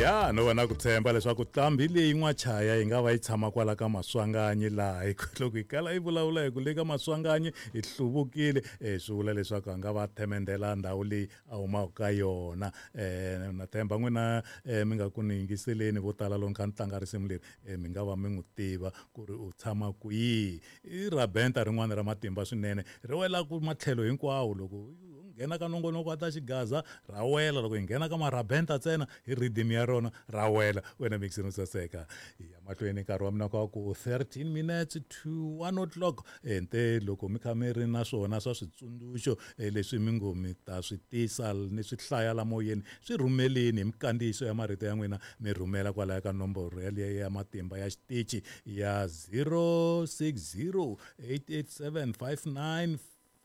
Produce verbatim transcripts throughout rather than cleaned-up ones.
Ya no va na ku tshemba leswaku nqambi leyi n'wachaya yi nga va yi tshama kwala ka Maswanganyi laha hi loko hi kala yi vulavula hi ku le ka Maswanganyi hi hluvukile um swi vula leswaku a nga va themendela ndhawu leyi a humaka ka yona. um Na tshemba n'wina um mi nga ku ni yingiseleni vo tala loko ni kha ni tlanga risimu leri um mi nga va mi n'wi tiva ku ri u tshama kwihi. I rabenta rin'wana ra matimba swinene ri wela ku matlhelo hinkwawo loko nghena ka nongonoko wa ta xigaza ra wela loko hi nghena ka marabenta ntsena hi rhythm ya rona ra wela wena mixini saseka ya mahlweni nkarhi wa mina ka ku thirteen minutes to one o'clock ente loko mi kha mi ri na swona swa switsundzuxo leswi mi ngo mi ta swi tisa ni swi hlaya la moyeni swi rhumeleni hi mikandziyiso ya marito ya n'wina mi rhumela kwalaya ka nomboro yaliya ya matimba ya xitichi ya zero six zero eight eight seven five nine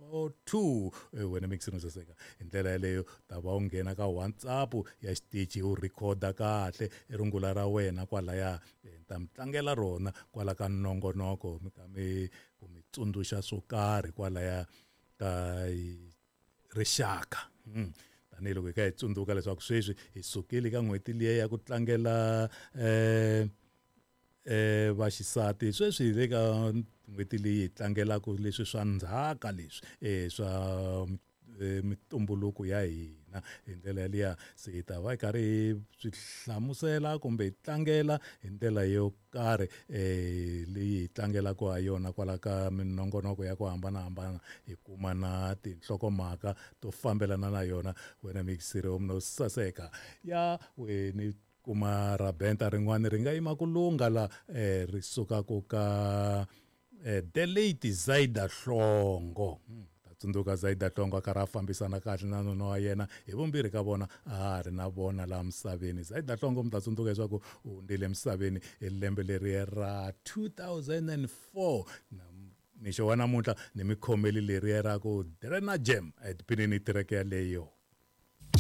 four two wena mixini saseka hi ndlela yeleyo ta va u nghena ka WhatsApp ya xitichi u rhikhoda kahle rungula ra wena kwalaya ta mi tlangela rona kwala ka nongonoko mi ka mi ku mi tsundzuxa swo karhi kwalaya ka rixaka. Tanihiloko hi kha hi tsundzuka leswaku sweswi hi sukile ka n'hweti liya ya ku tlangela um eh vaxisati sweswi hi le ka n'hweti leyi hi tlangelaka leswi swa ndzhaka leswi eh swa mitumbuluko ya hina hi ndlela yaliya se hi ta va hi karhi hi swi hlamusela kumbe hi tlangela hi ndlela yo karhi eh leyi hi tlangelaka ha yona kwala ka minongonoko ya ku hambanahambana hi kuma na tinhlokomhaka to fambelana na yona wena mixiri no saseka ya weni kuma rabenta rin'wana ri nga yima ku lungha la eh ri sukaka ka eh the late Zaida Hlongo. Ta tsundzuka Zaida Hlongo a karhi a fambisana kahle na nuna wa yena hi vumbirhi ka vona a ha ri na vona laha misaveni. Zaida Hlongo mi ta tsundzuka leswaku u hundzile emisaveni hi lembe leri ra two thousand and four na mixo wa namuntlha ni mi khomeli leriya ra ku Drena Jam etipinini tireke yaleyo.